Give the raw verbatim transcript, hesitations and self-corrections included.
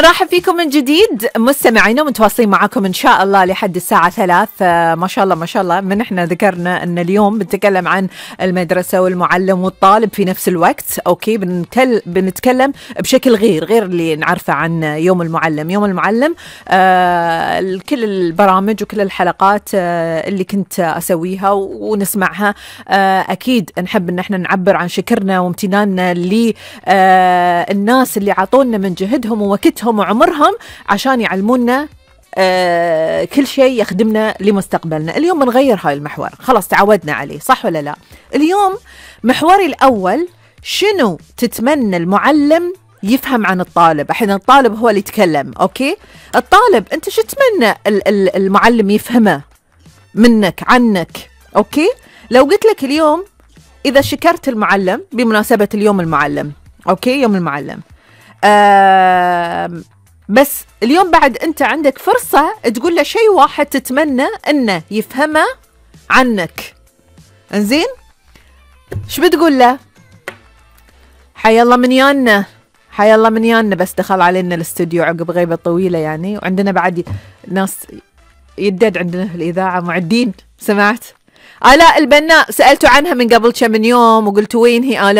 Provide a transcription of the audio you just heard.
نرحب فيكم من جديد مستمعينا، متواصلين معكم إن شاء الله لحد الساعة ثلاث. ما شاء الله ما شاء الله. من إحنا ذكرنا أن اليوم بنتكلم عن المدرسة والمعلم والطالب في نفس الوقت. أوكي، بنتكلم بنتكلم بشكل غير غير اللي نعرفه عن يوم المعلم. يوم المعلم آه كل البرامج وكل الحلقات آه اللي كنت أسويها ونسمعها آه أكيد نحب إن إحنا نعبر عن شكرنا وامتناننا للناس اللي عطونا من جهدهم ووقتهم وعمرهم عشان يعلمونا آه كل شيء يخدمنا لمستقبلنا. اليوم بنغير هاي المحور، خلاص تعودنا عليه، صح ولا لا؟ اليوم محوري الأول، شنو تتمنى المعلم يفهم عن الطالب؟ الحين الطالب هو اللي يتكلم. أوكي، الطالب أنت شو تتمنى المعلم يفهمه منك عنك؟ أوكي، لو قلت لك اليوم إذا شكرت المعلم بمناسبة اليوم المعلم، أوكي يوم المعلم، آه بس اليوم بعد أنت عندك فرصة تقول له شيء واحد تتمنى أنه يفهمه عنك. انزين، شو بتقول له؟ حيا الله من يانا، حيا الله من يانا، بس دخل علينا الاستوديو عقب غيبة طويلة يعني، وعندنا بعد ناس يدد عندنا في الإذاعة معدين. سمعت آلاء البناء، سألتوا عنها من قبل كم من يوم وقلتوا وين هي آلاء؟